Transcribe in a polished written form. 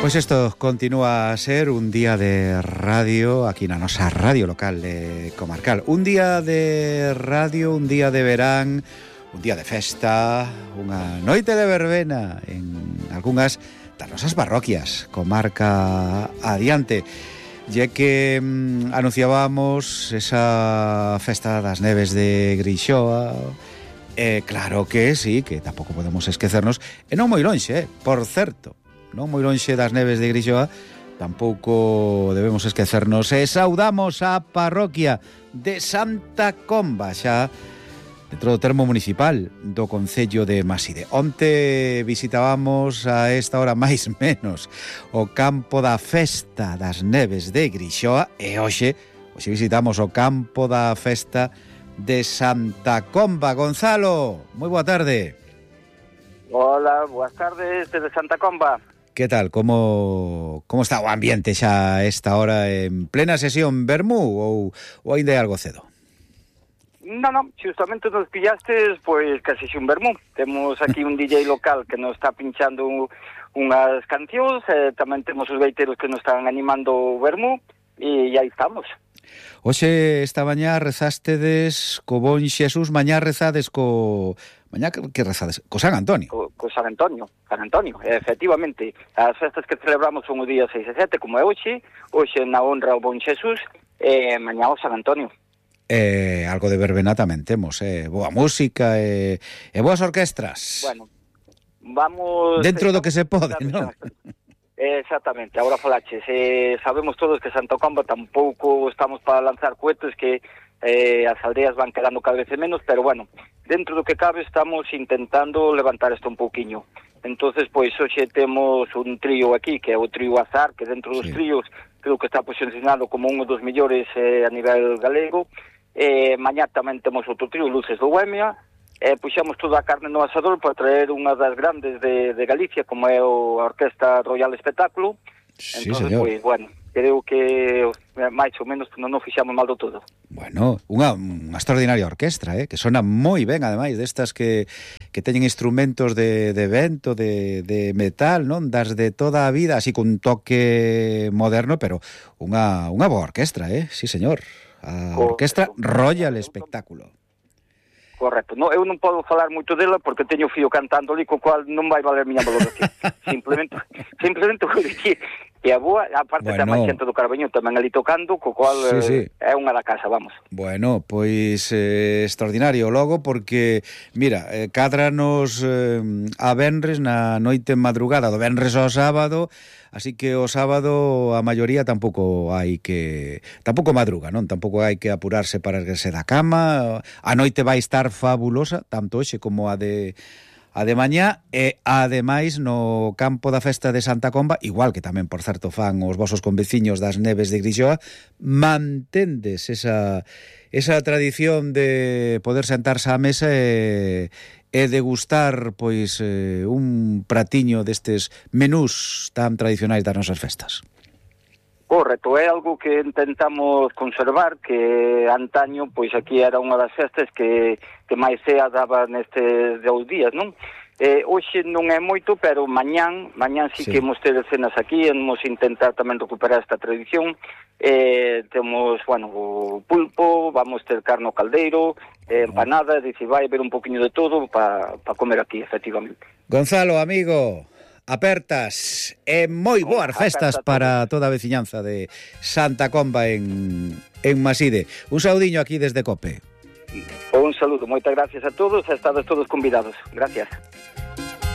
Pois isto continúa a ser un día de radio aquí na nosa radio local comarcal. Un día de radio, un día de verán, un día de festa, unha noite de verbena en algunhas das nosas parroquias, comarca adiante. Ya que anunciábamos esa festa das neves de Grixoa, claro que sí, que tampouco podemos esquecernos, e non moi lonxe, por certo, non moi lonxe das neves de Grixoa, tampouco debemos esquecernos e saudamos a parroquia de Santa Comba, xa dentro do termo municipal do concello de Maside. Onte visitábamos a esta hora máis menos o campo da festa das neves de Grixoa e hoxe visitamos o campo da festa de Santa Comba. Gonzalo, moi boa tarde. Hola, boas tardes desde Santa Comba. Que tal? Como está o ambiente xa a esta hora en plena sesión vermú ou ainda é algo cedo? Non, justamente nos pillastes, pois casi un vermú. Temos aquí un DJ local que nos está pinchando unhas cancións, tamén temos os veiteros que nos están animando o vermú, e aí estamos. Hoxe, esta mañá, rezástedes co bon Xesús, mañá rezades Mañá que rezades? Co San Antonio. Co San Antonio, efectivamente. As festas que celebramos son o día 6 e 7, como é hoxe na honra ao bon Xesús, e mañá o San Antonio. Algo de verbena tamén temos, boa música e boas orquestras. Bueno, vamos... Dentro do que se pode, non? Exactamente, agora falaches. Sabemos todos que Santa Comba tampouco estamos para lanzar cohetes, que as aldeas van quedando cada vez menos, pero bueno, dentro do que cabe estamos intentando levantar isto un pouquiño. Entonces, pois, hoxe temos un trío aquí, que é o trío Azar, que dentro dos tríos creo que está posicionado como un dos mellores a nivel galego. Mañá tamén temos outro trío, Luces do Bohemia, puxamos toda a carne no asador para traer unha das grandes de Galicia, como é a Orquesta Royal Espectáculo. Sí, entonces, señor. Pois, bueno, creo que máis ou menos non fixamos mal do todo. Bueno, unha extraordinaria orquestra, que sona moi ben, ademais, destas que teñen instrumentos de vento, de metal, non? Das de toda a vida, así con un toque moderno, pero unha boa orquestra, sí, señor. A Orquestra Royal Espectáculo. Correcto. No, eu non podo falar moito dela porque teño fío cantando ali, co cual non vai valer miña valoración. simplemente vou dicir que a boa, aparte da máis xente do Carbeño tamén ali tocando, co cual sí. É unha da casa, vamos. Bueno, pois extraordinario logo, porque mira, cádranos a venres na noite madrugada do venres ao sábado, así que o sábado a maioría tampouco madruga, non? Tampouco hai que apurarse para erguerse da cama. A noite vai estar fabulosa, tanto hoxe como a de mañá, e ademais no campo da festa de Santa Comba, igual que tamén, por certo, fan os vosos conveciños das neves de Grixoa, mantendes esa tradición de poder sentarse á mesa e degustar pois un pratiño destes menús tan tradicionais das nosas festas. Correcto, é algo que intentamos conservar, que antaño, pois aquí era unha das festas que máis cea daba nestes 2 días, non? Hoxe non é moito, pero mañán sí que imos ter cenas aquí, imos intentar tamén recuperar esta tradición. Temos, bueno, o pulpo, vamos ter carne ao caldeiro, empanada, dice, vai haber un poquinho de todo para comer aquí, efectivamente. Gonzalo, amigo, apertas e moi boas festas para toda a veciñanza de Santa Comba en Maside. Un saudiño aquí desde COPE. Un saludo, moitas gracias a todos, estades todos convidados. Gracias.